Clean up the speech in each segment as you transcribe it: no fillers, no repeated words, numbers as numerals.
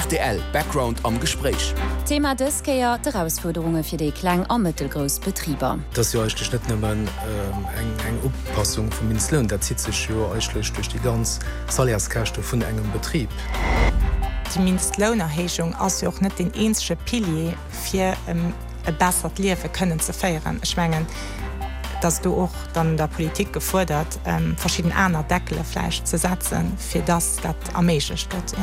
Rtl Background am Gespréich. Thema dës Kéier, d'Erausfuerderunge fir déi kleng a mëttelgrouss Betriber. Et ass jo eigentlech net nëmmen eng Upassung vum Mindestloun, dat zitt sech jo eigentlech duerch déi ganz Salaires-Käschte vun engem Betrib. Déi Mindestlounerhéijung ass jo och net deen eenzege Pilier, fir e bessert Liewe kënnen ze féieren. Ech mengen, et ass do och dann der Politik gefuerdert, verschidden aner Deckele vläicht ze setzen, fir dass dat erméiglecht gëtt.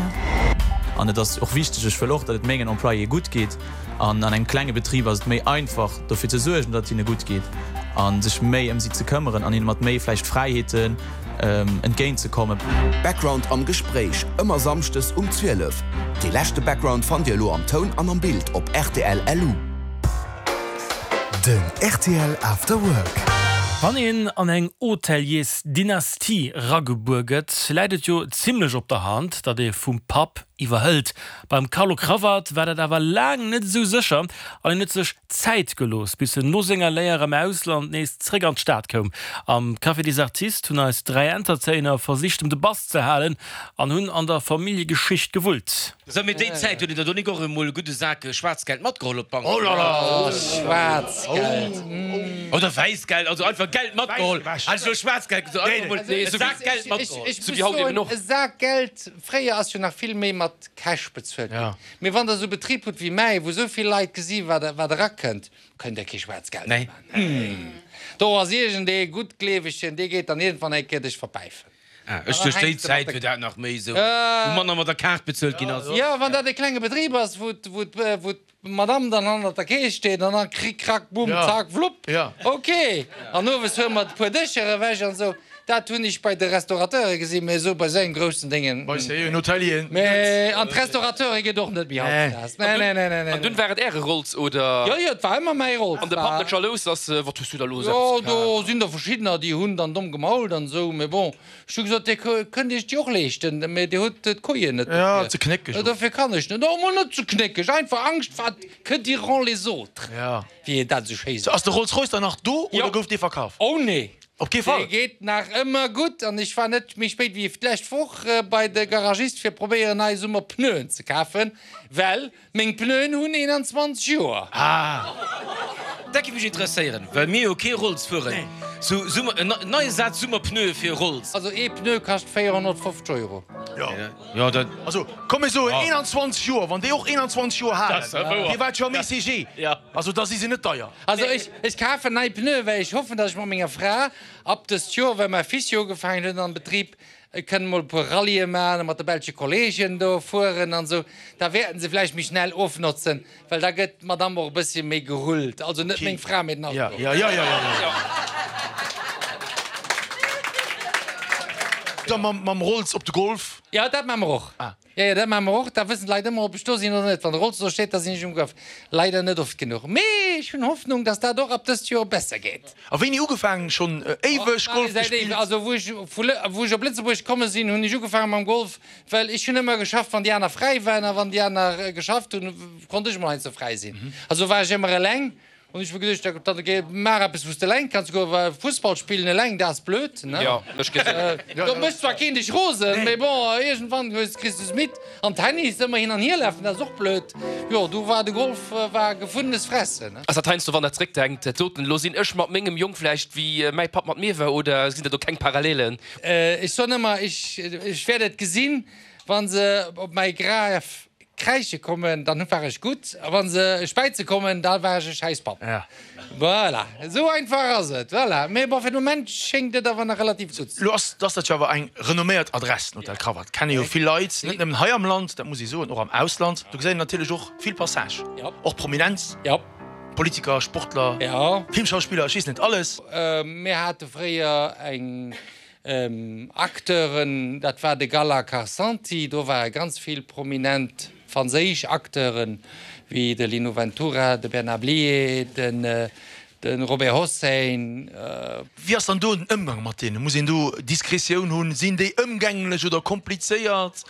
An et ass och wichteg, ech wëll och, datt et mengen Employéë gutt geet. An an engem klenge Betrib ass et méi einfach, dofir ze suergen, datt et hinne gutt geet a sech méi ëm si ze këmmeren an hinne mat méi vläicht Fräiheeten entgéint ze kommen. Background am Gespréich, ëmmer Samschdes um 12. Dee leschte Background fannt Dir elo am Toun an am Bild op rtl LU. Den rtl After Work. Wann een an eng Hôteliersdynastie ragebuer gëtt, läit et jo zimlech op der Hand, datt ee vum Papp iwwerhëlt. Beim Carlo Cravat war dat awer laang net esou sécher an en huet sech Zäit gelooss, bis en no senger Léier am Ausland nees zréck an d'Stad koum. Am Café des Artistes hunn eis 3 Entertainer versicht em de Bass ze halen an hunn an der Familljegeschicht gewullt. Sou, mee déi Zäit huet een der do nik och emol e gudde Sak Schwaarzgeld matgeholl op d'Bank? Oh là là, Schwaarzgeld, mm. Oder Wäissgeld, also einfach Geld matgeholl. Hat ech elo Schwaarzgeld gesot? Einfach emol e Sak Geld matgeholl. Ech muss soen, e Sak Geld, fréier ass jo nach vill méi mat Cash bezuelt ginn. Mee wann Der esou e Betrib hutt wéi mäi, wou esou vill Leit gesi wat erakënnt, kënnt Der kee Schwaarzgeld méi maachen. Do ass iergendee Guttgleewegen, dee geet dann iergendwann eng Kéier dech verpäifen. Ah, ech duecht déi Zäit wier dat nach méi esou, wou manner mat der Kaart bezuelt ginn ass. Jo, wann dat e klenge Betrib ass, wou d'Madame dann hannert der Kees steet an dann krick, krack, bumm, zack, wlupp, ok. An owes huele mer e puer Dëscher ewech an esou. Dat hunn ech bei de Restaurateure gesinn, mee esou bei esou engem groussen Déngen. Bei den Hotelieren net. Mee an d'Restaurateure gëtt och net méi hautdesdaags. Nee, nee, nee, nee, nee. An dunn war et Äre Rolls, oder? Jo, jo, et war ëmmer mäi Rolls. An de Papp net jalous, dass, Wat hues du da lo eppes kaf? Jo, do sinn der verschiddener, déi hunn dann domm gemault an esou, mee bon, ech hu gesot, Dir kënnt Iech déi och leeschten, mee Dir hutt d'Kojen net dofir. Jo, ze knéckeg och. Dofir kann ech net. Oh, mol net ze knéckeg, einfach Angscht, wat, que diront les autres, wéi een dat esou schéi seet. Ass de Rolls-Royce dann nach do, oder gouf dee verkaf? Oh nee. Op kee Fall! Dee geet nach ëmmer gutt an ech war net méi spéit wéi d'lescht Woch bei de Garagist fir probéieren nei Summerpneuen ze kafen, well meng Pneuen hunn 21 Joer. Ah! Dat géif mech interesséieren, well mir jo kee Rolls fueren. Sou Summer, en neie Saz Summerpneue fir e Rolls. Also ee Pneu kascht 450 Euro. Jo. Jo, dat. Also komm mir soen 21 Joer, wann déi och 21 Joer halen, dee war jo am ECG, also da si se net deier. Also ech, ech kafen nei Pneuen, well ech hoffen, dass ech mat menger Fra ab dëst Joer, well mäi Fils jo ugefaangen huet am Betrib, kënnen mol e puer Rallye maachen a mat de belsche Kollegen do fueren an esou. Da wäerten se vläicht méi schnell ofnotzen, well da gëtt d'Madame och e bëssche méi gerullt. Also net meng Fra, mee den Auto. Jo, jo, jo, jo. Da mam Rolls op de Golf. Jo, dat maache mer och. Jo, jo, dat maache mer och. Da wëssen d'Leit ëmmer, ob ech do sinn oder net. Wann de Rolls do steet, da sinn ech um Gouf. Leider net oft genuch. Mee ech hunn Hoffnung, dass dat och ab dëst Joer besser geet. A wéini ugefaangen? Schonn éiweg Golf gespillt? Also wou ech vu wou ech op Lëtzebuerg komme sinn, hunn ech ugefaange mam Golf, well ech hunn ëmmer geschafft, wann déi aner fräi waren. A wann déi aner geschafft hunn, konnt ech emol heiansdo fräi sinn. Also war ech ëmmer eleng. Hunn ech mir geduecht, da da maach eppes wou s de eleng kanns goen, well Fussball spillen eleng, dat ass blöd, ne? Jo, ech gesinn. Do mécht zwar keen dech rosen, mee bon, iergendwann hues, kriss du es midd. An Tennis, ëmmer hin an hier lafen, dat ass och blöd. Jo, du war de Golf war gefundenes Fressen, ne? Ass dat heiansdo, wann der zréckdenkt, dat doten, elo sinn ech mat mengem Jong vläicht wéi mäi Papp mat mir war, oder sinn der do keng Parallelen? Ech soen ëmmer, ech, ech wäert et gesinn, wa se op mäi Graf Kräische kommen, dann war ech gutt, a wa se späize kommen, da war ech e schäiss Papp. Voilà, esou einfach ass et. Voilà, mee bon, fir de Moment schéngt et awer nach relativ gutt ze Lo ass dat jo awer eng renomméiert Adress, den Hotel Cravat. Kenne jo vill Leit, net nëmmen hei am Land, dat muss ee soen, och am Ausland. Do geséit een natierlech och vill Passage, och Prominenz, Politiker, Sportler, Filmschauspiller, ech weess net alles. Mir hate fréier eng Acteuren, dat war de Gala Carsanti, do ware ganz vill prominent franséisch Acteuren, wéi de Lino Ventura, de Bernard Blier, de Robert Hossein. Wéi ass dann do den Ëmgang mat deenen? Muss een do Diskretioun hunn? Sinn déi ëmgänglech oder komplizéiert?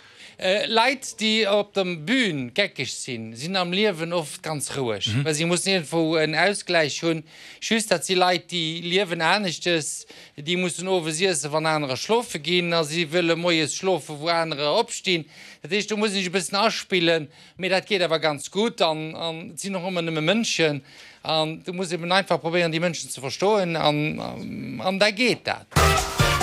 Leit, déi op der Bühn geckeg sinn, sinn am Liewen oft ganz roueg, well si mussen iergendwou en Ausgläich hunn. Just, dat si Leit, déi liewen aneschtes, déi mussen owes iessen, wann anerer schlofe ginn, a si wëlle moies schlofen, wou anerer opstinn. Dat heescht, do muss een sech e bëssen aspillen, mee dat geet awer ganz gutt an et sinn och ëmmer nëmme Mënschen an du muss eben einfach probéieren, déi Mënschen ze verstoen an da geet dat.